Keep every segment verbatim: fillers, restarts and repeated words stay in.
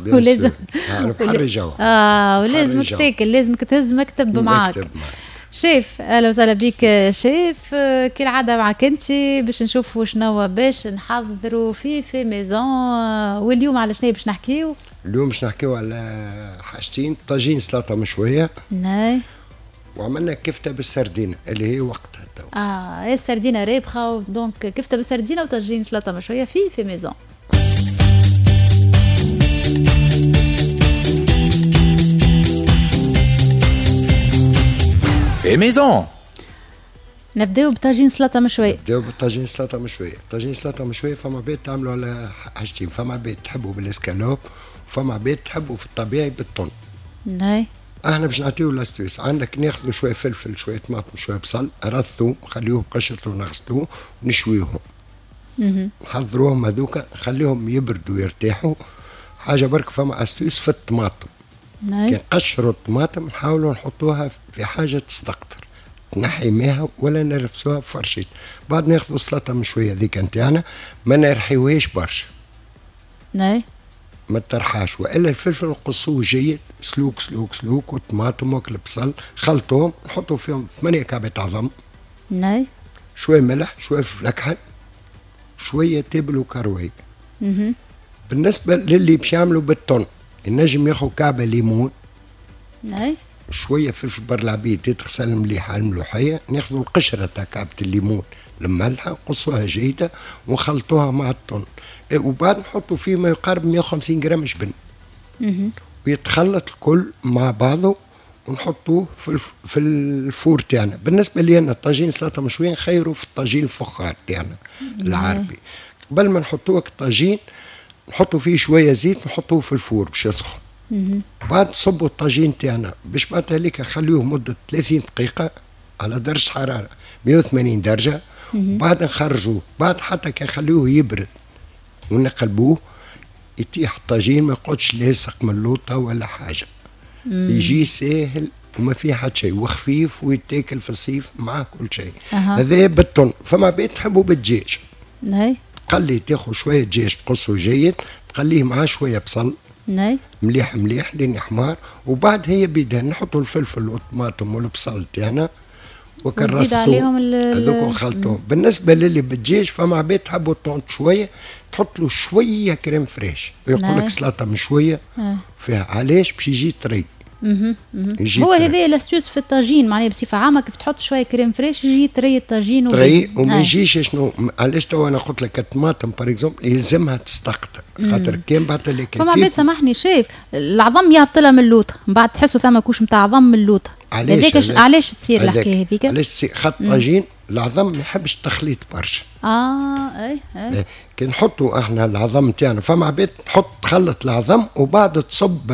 ولازم بحر الجو. اه ولازمك تاكل، لازمك تهز مكتب معاك. شيف اهلا وسهلا بك شيف، كالعادة معك انت باش نشوفوا شنو باش نحضروا في fait maison. واليوم على شنو باش نحكيو؟ اليوم باش نحكيو على حاجتين، طاجين سلطة مشوية. نعم. وعملنا كفته بالسردينه اللي هي وقتها تو. اه السردينه رابخه، donc كفته بالسردينه وطاجين سلطة مشوية في fait maison. fait maison. نبداو بطاجين سلطة مشوية. نبداو بالطاجين سلطة مشوية، طاجين سلطة مشوية فما عباد تعملوا على حاجتين، فما عباد تحبوا بالاسكالوب وفما عباد تحبوا في الطبيعي بالطن. ناي. احنا باش نعطيو l'astuce، عندك ناخذوا شوية فلفل، شوية طماطم، شوية بصل، رثو، نخليوه بقشرته ونغسلوه ونشويوهم. نحضروهم هذوكا، نخليهم يبردوا ويرتاحوا. حاجة برك فما astuce في الطماطم. كي نقشروا الطماطم نحاولوا نحطوها في حاجة تستقطر، تنحي ماها ولا نرفسوها بفرشيط. بعد ناخذوا السلطة مشوية ذيك نتاعنا، ما نرحيوهاش برشا. ناي. ما ترحاش، والا الفلفل نقصوه جيد، سلوك سلوك سلوك، والطماطم وكل البصل، خلطوهم، نحطوا فيهم ثمانية كعبات عظم. ناي. شوية ملح، شوية فلفل اكحل، شوية تابل وكروي. اها. بالنسبة للي باش يعملوا بالطن، النجم ياخذ كعبه ليمون. ناي. شوية فلفل بر العبيد يتغسل مليح على الملوحيه، ناخذوا القشرة تاع كعبه الليمون المملحه، نقصوها جيدة ونخلطوها مع الطن، وبعد نحطوا فيه ما يقارب مية وخمسين جرام جبن. ويتخلط الكل مع بعضه ونحطوه في الف... في ال four تاعنا. بالنسبة لي انا الطاجين سلطة مشوية نخيروا في الطاجين الفخار تاعنا العربي. قبل ما نحطوه الطاجين نحطوا فيه شوية زيت، نحطوه في ال four باش يسخن. بعد نصبوا الطاجين تاعنا باش بعد هذيك نخليوه مده ثلاثين دقيقة على درجه حرارة مية وثمانين درجه. بعد نخرجوه، بعد حتى كي نخليوه يبرد ونقلبوه يطيح الطاجين، ما يقعدش لاصق من اللوطه ولا حاجة. مم. يجي ساهل وما فيه حتى شيء، وخفيف ويتاكل في الصيف مع كل شيء. هذا بالطن. فما بيت تحبوا بالدجاج. ناي. تقلي، تاخذ شوية دجاج تقصه جيد، تقليه معاه شوية بصل. ناي. مليح مليح لين يحمر، وبعد هي بيدها نحطوا الفلفل والطماطم والبصل تاعنا وكرستو عليهم هذوك نخلطوهم. بالنسبة للي بالدجاج فما عباد تحبوا الطون شوية، تحط له شوية crème fraîche، ويقول لك سلطة مشوية فيها. علاش؟ باش يجي طري. هو هذا l'astuce في الطاجين، معناها بصفة عامة كيف تحط شوية crème fraîche يجي طري الطاجين طري وما يجيش. شنو علاش تو انا قلت لك الطماطم par exemple يلزمها تستقطر، خاطر كان بعد اللي فما عباد سامحني شايف العظم يهبط لها من اللوطه، من بعد تحسوا ثما couche نتاع عظم من اللوطه. علاش علاش تصير الحكاية هذيك؟ علاش تصير؟ خاطر الطاجين العظم ما يحبش التخليط برشا. اه اي اي كي نحطوا احنا العظم تاعنا، فما عباد تحط تخلط العظم وبعد تصب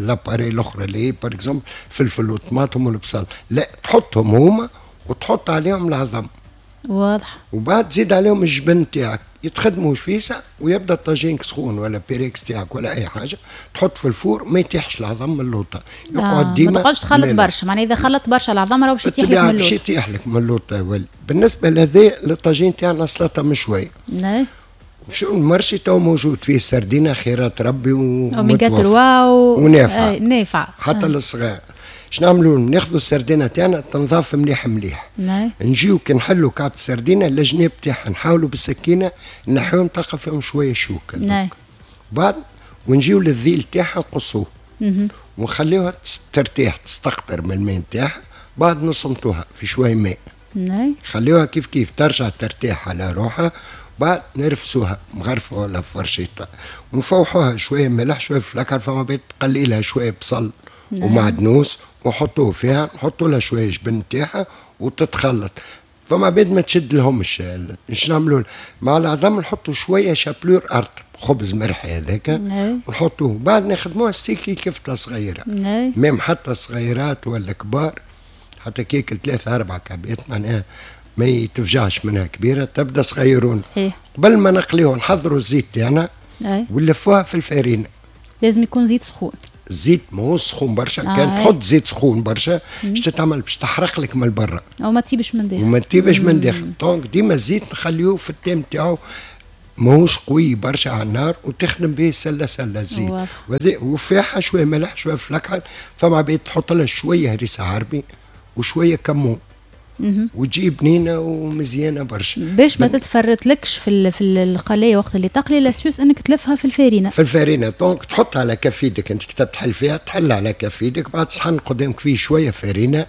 l'appareil الاخرى اللي هي par exemple فلفل وطماطم والبصل، لا تحطهم هما وتحط عليهم العظم. واضح. وبعد تزيد عليهم الجبن تاعك، يتخدموا فيسع ويبدا الطاجين سخون ولا بيريكس تاعك ولا اي حاجة، تحط في ال four ما يتيحش العظم من اللوطه، يقعد آه ديما. ما تقعدش تخلط برشا، معناها اذا خلطت برشا العظم راه باش يتيح لك من اللوطه. باش يتيح لك من اللوطه. بالنسبة لهذا للطاجين تاعنا سلطة مشوية. نعم. شو ال marché تو موجود فيه السردينه خيرات ربي و اوميغا ثلاثة و... ونافعة. نافعة حتى آه. للصغار. شنو نعملوا؟ ناخذوا السردينه تاعنا تنظاف مليح مليح. نعم. نجيو كي نحلوا كعبه السردينه الجناب تاعها نحاولوا بالسكينة نحيوهم، تلقى فيهم شوية شوك. نعم. بعد ونجيو للذيل تاعها نقصوه. ونخليوها ترتاح تستقطر من الماء تاعها، بعد نصمتوها في شوية ماء. نعم. خليوها كيف كيف ترجع ترتاح على روحها، بعد نرفسوها مغرفه ولا فرشيطه ونفوحوها شوية ملح شوية فلكر، فما بيت تقلي لها شوية بصل. نعم. ومعدنوس وحطوه فيها، نحطوا لها شوية جبن تاعها وتتخلط. فما عباد ما تشد لهمش. اش نعملوا مع العظم؟ نحطوا شوية chapelure ارطب، خبز مرحي هذاك ونحطوه. بعد نخدموها ستيكي كفته صغيرة. نعم. même حتى صغيرات ولا كبار، حتى كيك ثلاثة أربعة كعبات معناها ما يتفجعش منها كبيرة، تبدا صغيرون. صحيح. قبل ما نقليوها نحضروا الزيت تاعنا ونلفوها في الفارينه. لازم يكون زيت سخون. الزيت ماهوش سخون برشا، آه كان تحط زيت سخون برشا باش تتعمل باش تحرق لك من برا او ما تطيبش من داخل. وما تطيبش من داخل، donc ديما الزيت نخليوه في ال temps تاعو ماهوش قوي برشا على النار، وتخدم به سله سله الزيت، وفيها شوية ملح شوية فلكحل. فما عباد تحط لها شوية هريسه عربي وشوية كمون وتجي بنينه ومزيانه برشا. باش ما تتفرتلكش في في القلايه وقت اللي تقلي، l'astuce انك تلفها في الفارينه. في الفارينه، donc تحطها على كف يدك، انت كتب تحل فيها، تحل على كف يدك، بعد صحن قدامك فيه شوية فارينه،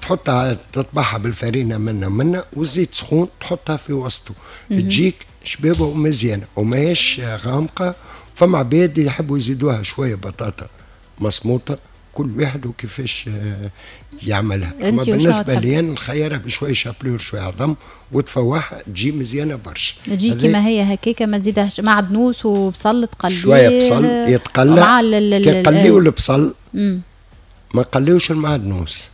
تحطها تطبعها بالفارينه منا منا، والزيت سخون تحطها في وسطه، تجيك شبابه ومزيانه وماهيش غامقه. فما عباد يحبوا يزيدوها شوية بطاطا مصموطه، كل واحد وكيفاش يعملها. اما بالنسبة لي انا نخيرها بشوية chapelure شوية عظم وتفوحها، تجي مزيانه برشا. تجي كيما هي هكاكا، ما تزيدهاش معدنوس وبصل تقليه، شوية بصل يتقلى. كي نقليو البصل ما نقليوش المعدنوس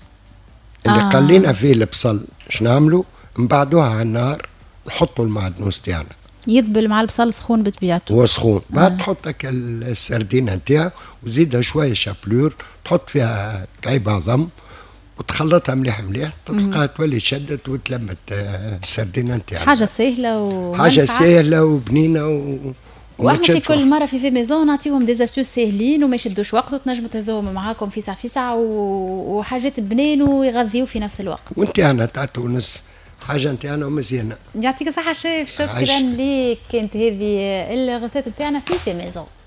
اللي آه. قلينا فيه البصل، شنو نعملوا؟ نبعدوها على النار، نحطوا المعدنوس تاعنا يذبل مع البصل سخون بطبيعته، هو سخون. بعد آه. تحط السردينه نتاعك وزيدها شوية chapelure، تحط فيها كعيب عظم وتخلطها مليح مليح، تلقاها تولي شدت وتلمت السردينه نتاعك. حاجة سهلة و حاجة سهلة وبنينه و... واحنا في كل مرة في fait maison نعطيهم des astuces ساهلين وما يشدوش وقت، وتنجموا تهزوهم معاكم في ساعة في ساعة، وحاجات بنين ويغذيو في نفس الوقت. وانت انا تاع تونس حاجة نتاعنا ومزيانه. يعطيك الصحة شيف، شكرا لك. كانت هذه ال recette نتاعنا في fait maison.